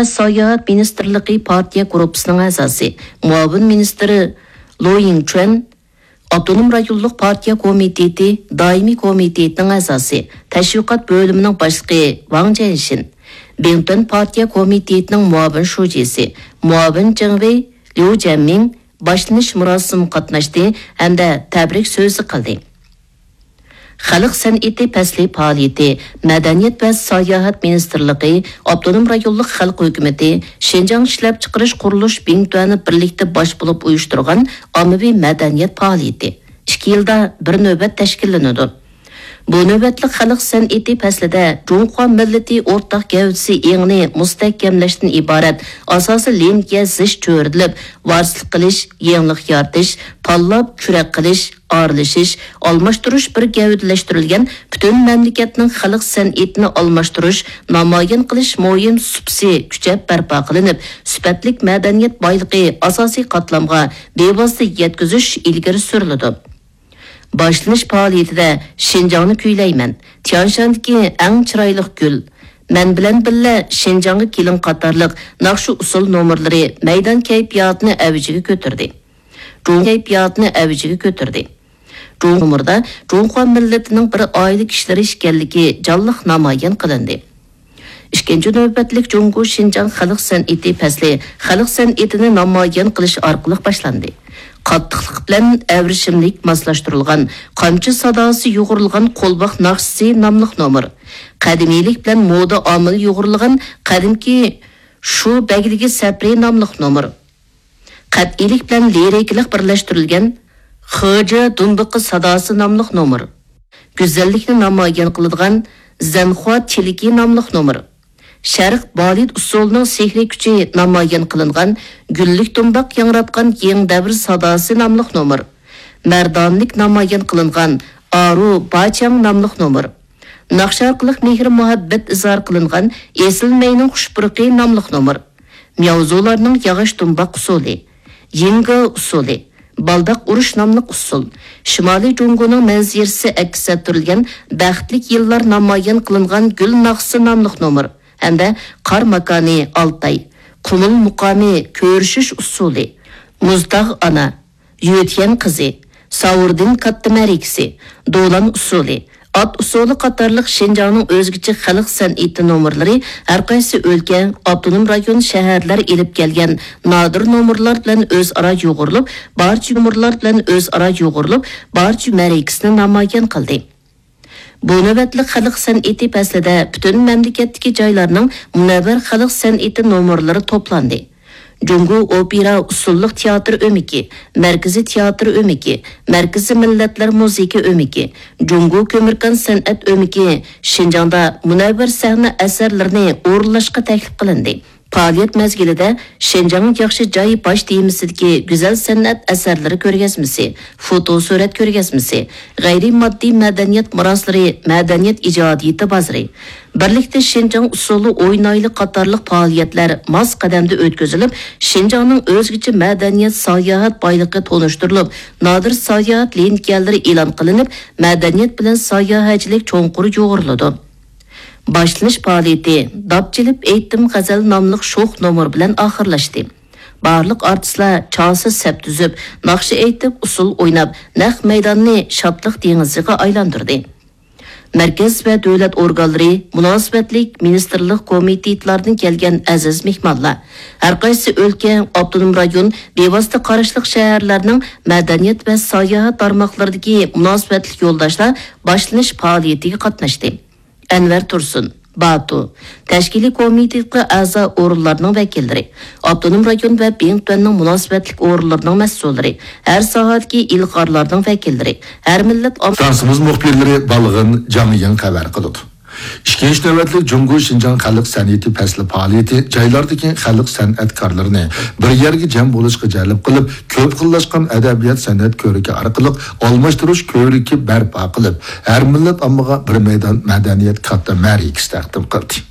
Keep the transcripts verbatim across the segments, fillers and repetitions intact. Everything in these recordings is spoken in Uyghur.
ساياھەت مىنىستىرلىقى پارتىيە گۇرۇپپىسىنىڭ ئەزاسى، مۇئاۋىن مىنىستىرى لو يىڭچۈەن، ئاپتونوم رايونلۇق پارتىيە كومىتېتى دائىمىي كومىتېتىنىڭ ئەزاسى، تەشۋىقات بۆلۈمىنىڭ باشلىقى ۋاڭ جيەنشىن، بىڭتۈەن پارتىيە كومىتېتىنىڭ مۇئاۋىن شۇجىسى، مۇئاۋىن جېڭ ۋېي، ليۇ جيەنمىڭ، باشلىنىش مۇراسىمىغا قاتناشتى ھەمدە تەبرىك سۆزى قىلدى. خەلق سەنئىتى پەسلى پائالىيىتى مەدەنىيەت ۋە ساياھەت مىنىستىرلىقى، ئاپتونوم رايونلۇق خەلق ھۆكۈمىتى، شىنجاڭ ئىشلەپچىقىرىش قۇرۇلۇش بىڭتۈەنى بىرلىكتە باش بولۇپ ئۇيۇشتۇرغان ئاممىۋى مەدەنىيەت پائالىيىتى ئىككى يىلدا بىر نۆۋەت تەشكىللىنىدۇ. بۇ نۆۋەتلىك خەلق سەنئىتى پەسلىدە جۇڭخۇا مىللىتى ئورتاق گەۋدىسى ئېڭىنى مۇستەھكەملەشتىن ئىبارەت ئاساسىي لىنىيە زىچ چۆرىدىلىپ، ۋارىسلىق قىلىش، يېڭىلىق يارىتىش، تاللاپ كۈرەك قىلىش، ئارىلىشىش، ئالماشتۇرۇش بىر گەۋدىلەشتۈرۈلگەن پۈتۈن مەملىكەتنىڭ خەلق سەنئىتىنى ئالماشتۇرۇش، نامايان قىلىش مۇھىم سۇپىسى كۈچەپ بەرپا قىلىنىپ، سۈپەتلىك مەدەنىيەت بايلىقى ئاساسىي قاتلامغا بىۋاسىتە يەتكۈزۈش ئىلگىرى سۈرۈلىدۇ. باشلىنىش پائالىيىتىدە شىنجاڭنى كۈيلەيمەن، تيانشاندىكى ئەڭ چىرايلىق گۈل، مەن بىلەن بىللە شىنجاڭغا كېلىڭ قاتارلىق ناخشا ئۇسسۇل نومۇرلىرى مەيدان كەيپىياتىنى ئەۋجىگە كۆتۈردى. جۇڭ كەيپىياتىنى ئەۋجىگە كۆتۈردى. جۇڭ نومۇردا جۇڭخۇا مىللىتىنىڭ بىر ئائىلە كىشىلىرى ئىكەنلىكى جانلىق نامايان قىلىندى. ئىككىنچى نۆۋەتلىك جۇڭگو شىنجاڭ خەلق سەنئىتى پەسلى خەلق سەنئىتىنى نامايان قىلىش ئارقىلىق باشلاندى. قاتتىقلىق بىلەن ئەۋرىشىملىك ماسلاشتۇرۇلغان، قامچا ساداسى يۇغۇرۇلغان قولۋاق ناخشىسى ناملىق نومۇر، قەدىمىيلىك بىلەن مودا ئامىلى يۇغۇرۇلغان قەدىمكى شۇ بەگلىكى سەپىرى ناملىق نومۇر، قەتئىيلىك بىلەن لىرىكىلىق بىرلەشتۈرۈلگەن خېجې دۇمبىقى ساداسى ناملىق نومۇر، گۈزەللىكنى نامايان قىلىدىغان زەنخۇا تىلىكى ناملىق نومۇر، شەرق بالېت ئۇسسۇلىنىڭ سېھرىي كۈچى نامايان قىلىنغان گۈللۈك دۇمباق ياڭراتقان يېڭى دەۋر ساداسى ناملىق نومۇر، مەردانىلىك نامايان قىلىنغان ئارۇ باچياڭ ناملىق نومۇر، ناخشا ئارقىلىق مېھىر-مۇھەببەت ئىزھار قىلىنغان ئېسىل مەينىڭ خۇش پۇرىقى ناملىق نومۇر، مياۋزۇلارنىڭ ياغاچ دۇمباق ئۇسسۇلى، يىڭگې ئۇسسۇلى، بالداق ئۇرۇش ناملىق ئۇسسۇل، شىمالىي جۇڭگونىڭ مەنزىرىسى ئەكس ئەتتۈرۈلگەن بەختلىك يىللار نامايان قىلىنغان گۈل ناخشىسى ناملىق نومۇر ھەمدە قار ماكانى ئالتاي، قۇمۇل مۇقامى كۆرۈشۈش ئۇسسۇلى، مۇزتاغ ئانا، يۆتيەن قىزى، ساۋۇردىن كاتتا مەرىكىسى، دولان ئۇسسۇلى، ئات ئۇسسۇلى قاتارلىق شىنجاڭنىڭ ئۆزگىچە خەلق سەنئىتى نومۇرلىرى ھەرقايسى ئۆلكە، ئاپتونوم رايون، شەھەرلەر ئېلىپ كەلگەن نادىر نومۇرلار بىلەن ئۆزئارا يۇغۇرۇلۇپ، بارچە نومۇرلار بىلەن ئۆزئارا يۇغۇرۇلۇپ، بارچە مەرىكىسىنى نامايان قىلدى. بۇ نۆۋەتلىك خەلق سەنئىتى پەسلىدە پۈتۈن مەملىكەتتىكى جايلارنىڭ مۇنەۋۋەر خەلق سەنئىتى نومۇرلىرى توپلاندى. جۇڭگو ئوپېرا ئۇسسۇللۇق تىياتىر ئۆمىكى، مەركىزىي تىياتىر ئۆمىكى، مەركىزىي مىللەتلەر مۇزىكا ئۆمىكى، جۇڭگو كۆمۈركان سەنئەت ئۆمىكى شىنجاڭدا مۇنەۋۋەر سەھنە ئەسەرلىرىنى ئورۇنلاشقا تەكلىپ قىلىندى. پائالىيەت مەزگىلىدە شىنجاڭ ياخشى جاي باش تېمىسىدىكى گۈزەل سەنئەت ئەسەرلىرى كۆرگەزمىسى، فوتو سۈرەت كۆرگەزمىسى، غەيرىي ماددىي مەدەنىيەت مىراسلىرى، مەدەنىيەت ئىجادىيىتى بازىرى، بىرلىكتە شىنجاڭ ئۇسسۇلى ئوينايلى قاتارلىق پائالىيەتلەر ماس قەدەمدە ئۆتكۈزۈلۈپ، شىنجاڭنىڭ ئۆزگىچە مەدەنىيەت ساياھەت بايلىقى تونۇشتۇرۇلۇپ، نادىر ساياھەت لېنتىيەلىرى ئېلان قىلىنىپ، مەدەنىيەت بىلەن ساياھەتچىلىك چوڭقۇر يۇغۇرۇلىدۇ. باشلىنىش پائالىيىتى داپ چېلىپ ئېيتتىم غەزەل ناملىق شوخ نومۇر بىلەن ئاخىرلاشتى. بارلىق ئارتىسلار چارسىز سەپ تۈزۈپ، ناخشا ئېيتىپ، ئۇسسۇل ئويناپ، نەق مەيداننى شادلىق دېڭىزىغا ئايلاندۇردى. مەركەز ۋە دۆلەت ئورگانلىرى، مۇناسىۋەتلىك مىنىستىرلىق كومىتېتلاردىن كەلگەن ئەزىز مېھمانلار، ھەرقايسى ئۆلكە، ئاپتونوم رايون، بىۋاسىتە قاراشلىق شەھەرلەرنىڭ مەدەنىيەت ۋە ساياھەت تارماقلىرىدىكى مۇناسىۋەتلىك يولداشلار باشلىنىش پائالىيىتىگە قاتناشتى. ئەنۋەر تۇرسۇن، باتۇ، تەشكىلىي كومىتېتقا ئەزا ئورۇنلارنىڭ ۋەكىللىرى، ئاپتونوم رايون ۋە بىڭتۈەننىڭ مۇناسىۋەتلىك ئورۇنلىرىنىڭ مەسئۇللىرى، ھەر ساھەدىكى ئىلغارلارنىڭ ۋەكىللىرى، ھەر مىللەت ئام- فرانسىمىز مۇخبىرلىرى بالغىن جاڭيىڭ خەۋەر قىلىدۇ. ئىككىنچى نۆۋەتلىك جۇڭگو شىنجاڭ خەلق سەنئىتى پەسلى پائالىيىتى جايلاردىكى خەلق سەنئەتكارلىرىنى بىر يەرگە جەم بولۇشقا جەلپ قىلىپ، كۆپ خىللاشقان ئەدەبىيات سەنئەت كۆرىكى ئارقىلىق ئالماشتۇرۇش كۆۋرۈكى بەرپا قىلىپ، ھەر مىللەت ئاممىغا بىر مەيدان مەدەنىيەت كاتتا مەرىكىسى تەقدىم قىلدى.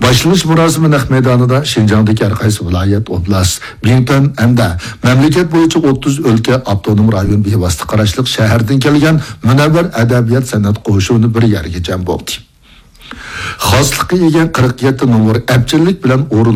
باشلىنىش مۇراسىمى نەق مەيدانىدا شىنجاڭدىكى ھەرقايسى ۋىلايەت، ئوبلاست، بىڭتۈەن ھەمدە مەملىكەت بويىچە ئوتتۇز ئۆلكە، ئاپتونوم رايون بىۋاسىتە قاراشلىق شەھەردىن كەلگەن مۇنەۋۋەر ئەدەبىيات سەنئەت قوشۇنى بىر يەرگە جەم بولدى. خاسلىققا ئىگە قىرىق يەتتە نومۇر ئەپچىللىك بىلەن ئورۇنلاشتى.